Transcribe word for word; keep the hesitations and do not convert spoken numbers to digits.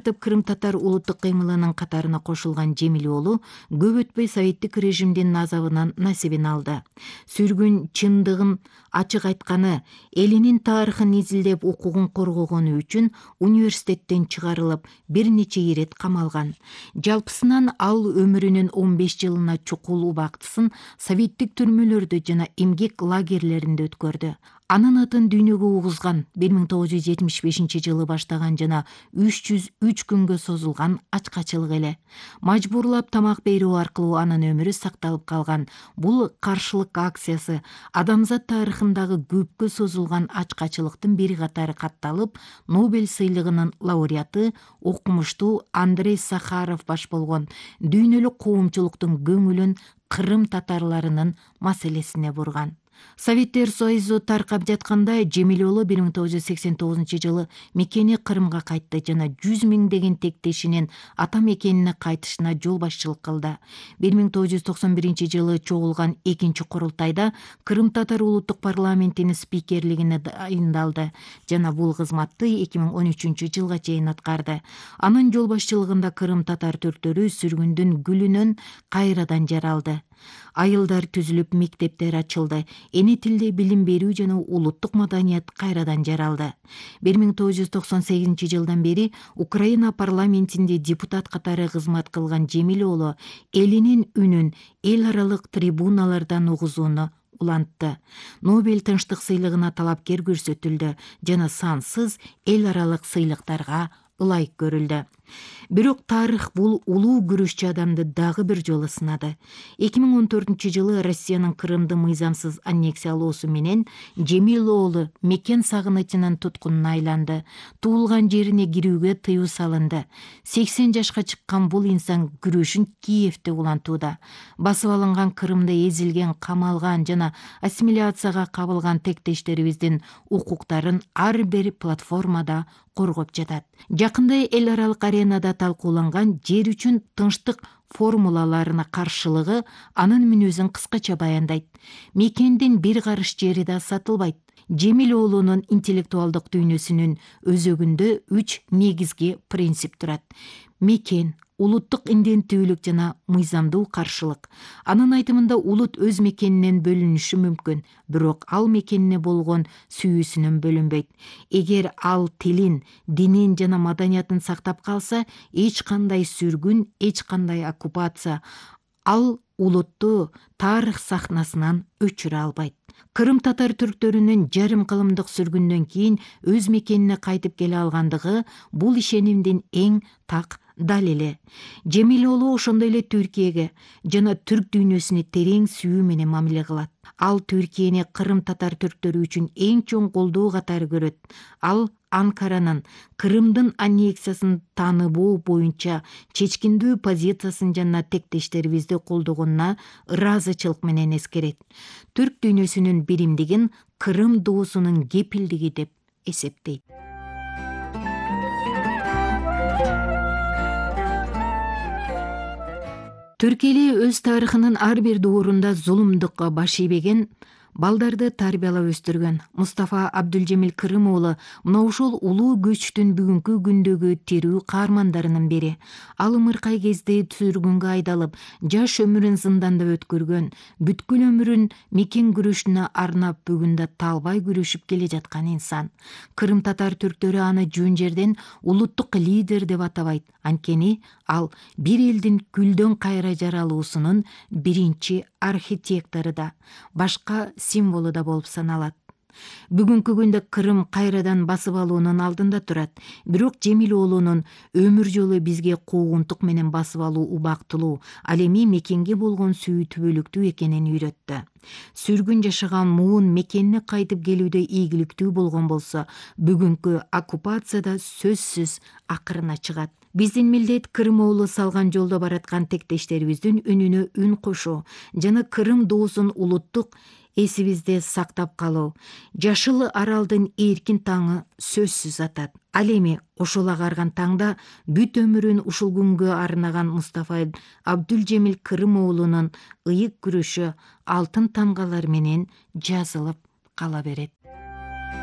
Кырым татар улуттук кыймылынын катарына кошулган Жемилоğlu көп өтпөй советтик режимдин азабынан насибин алды. Сүргүн чындыгын ачык айтканы, элинин тарыхын изилдеп укугун коргогону үчүн университеттен чыгарылып, бир нече ирет камалган. Жалпысынан ал өмүрүнүн он беш жылына чукул убактысын советтик түрмөлөрдө жана эмгек лагерлеринде өткөрдү. Анын атын дүйнөгө угузган бир миң тогуз жүз жетимиш бешинчи жылы баштаган жана үч жүз үч күнгө созулган ачкачылык эле. Мажбурлап тамак берүү аркылуу анын өмүрү сакталып калган. Бул каршылык акциясы адамзат тарыхындагы көпкө созулган ачкачылыктын бир катары катталып, Нобель сыйлыгынын лауреаты окумуштуу Андрей Сахаров баш болгон дүйнөлүк коомчулуктун көңүлүн Кырым татарларынын маселесине бурган. Советтер Союзу таркап жатканда Жемилоğlu бир миң тогуз жүз сексен тогузунчу жылы мекени Кырымга кайтты жана жүз миңдеген тектешинин ата мекенине кайтышына жол башчылык кылды. бир миң тогуз жүз токсон биринчи жылы чогулган экинчи курултайда Кырым татар улуттук парламентинин спикерлигине дайындалды жана бул кызматты эки миң он үчүнчү жылга чейин аткарды. Анын жол башчылыгында Кырым татар түрктөрү сүргүндүн гүлүнөн кайрадан жаралды. Айылдар түзүлүп, мектептер ачылды. Эне тилде билим берүү жана улуттук маданият кайрадан жаралды. бир миң тогуз жүз токсон сегизинчи жылдан бери Украина парламентинде депутат катары кызмат кылган Жемилоğlu элинин үнүн эл аралык трибуналардан угузууну улантты. Нобель тынчтык сыйлыгына талапкер көрсөтүлдү жана сансыз эл аралык сыйлыктарга ылайык көрүлдү. Бирок тарых бул улуу күрөшчү адамды дагы бир жолу сынады. эки миң он төртүнчү жылы Россиянын Кырымды мыйзамсыз аннексиялоосу менен Жемилоğlu мекен сагынычынын туткунуна айланды. Туулган жерине кирүүгө тыюу салынды. сексен жашка чыккан бул инсан күрөшүн Киевде улантууда. Басып алынган Кырымда эзилген, камалган жана ассимиляцияга кабылган тектештерибиздин укуктарын ар бир платформада коргоп жатат. Жакында эл аралык аренада талкууланган жер үчүн тынчтык формулаларына каршылыгы анын мүнөзүн кыскача баяндайт. Мекендин бир карыш жери да сатылбайт. Жемилоğlu'нун интеллектуалдык дүйнөсүнүн өзөгүндө үч негизги принцип турат. Мекен, улуттук инденттүүлүк жана мыйзамдуу каршылык. Анын айтымында улут өз мекенинен бөлүнүшү мүмкүн, бирок ал мекенине болгон сүйүүсүнөн бөлүнбөйт. Эгер ал тилин, динин жана маданиятын сактап калса, эч кандай сүргүн, эч кандай оккупация ал улутту тарых сахнасынан өчүрө албайт. Кырым татар түрктөрүнүн жарым кылымдык сүргүндөн кийин өз мекенине кайтып келе алгандыгы бул ишенимдин эң так далили. Жемилоğlu ошондой эле Түркияге жана түрк дүйнөсүнө терең сүйүү менен мамиле кылат. Ал Түркияны Кырым татар түрктөрү үчүн эң чоң колдоо катары көрөт. Ал Анкаранын Кырымдын аннексиясын тааныбоо боюнча чечкиндүү позициясын жана тектештерибизди колдогонуна ыраазычылык менен эскерет. Түрк дүйнөсүнүн биримдигин Кырым доосунун кепилдиги деп эсептейт. Түрк эли өз тарыхынын ар бир доорунда зулумдукка баш ийбеген, балдарды тарбиялап өстүргөн. Мустафа Абдулжемил Кырым уулу мына ушул улуу көчтүн бүгүнкү күндөгү тирүү каармандарынын бири. Ал ымыркай кезде сүргүнгө айдалып, жаш өмүрүн зынданда өткөргөн, бүткүл өмүрүн мекен күрөшүнө арнап бүгүн да талбай күрөшүп келе жаткан инсан. Кырым татар түрктөрү аны жөн жерден улуттук лидер деп атабайт. Анткени ал бир элдин күлдөн кайра жаралуусунун биринчи архитектору да, башка символу да болуп саналат. Бүгүнкү күндө Кырым кайрадан басып алуунун алдында турат. Бирок Жемилоğlu'нун өмүр жолу бизге куугунтук менен басып алуу убактылуу, ал эми мекенге болгон сүйүүтүбөлүктүү экенин үйрөттү. Сүргүн жашаган муун мекенине кайтып келүүдө ийгиликтүү болгон болсо, бүгүнкү оккупацияда сөзсүз акырына чыгат. Биздин милдет Кырым уулу салган жолдо бараткан тектештерибиздин үнүнө үн кошуу жана Кырым доосун улуттук эсибизде сактап калуу. Жашыл аралдын эркин таңы сөзсүз атат. Ал эми ошол агарган таңда бүт өмүрүн ушул күнгө арнаган Мустафа Абдулжемил Кырым уулунун ыйык күрөшү алтын тамгалар менен жазылып кала берет.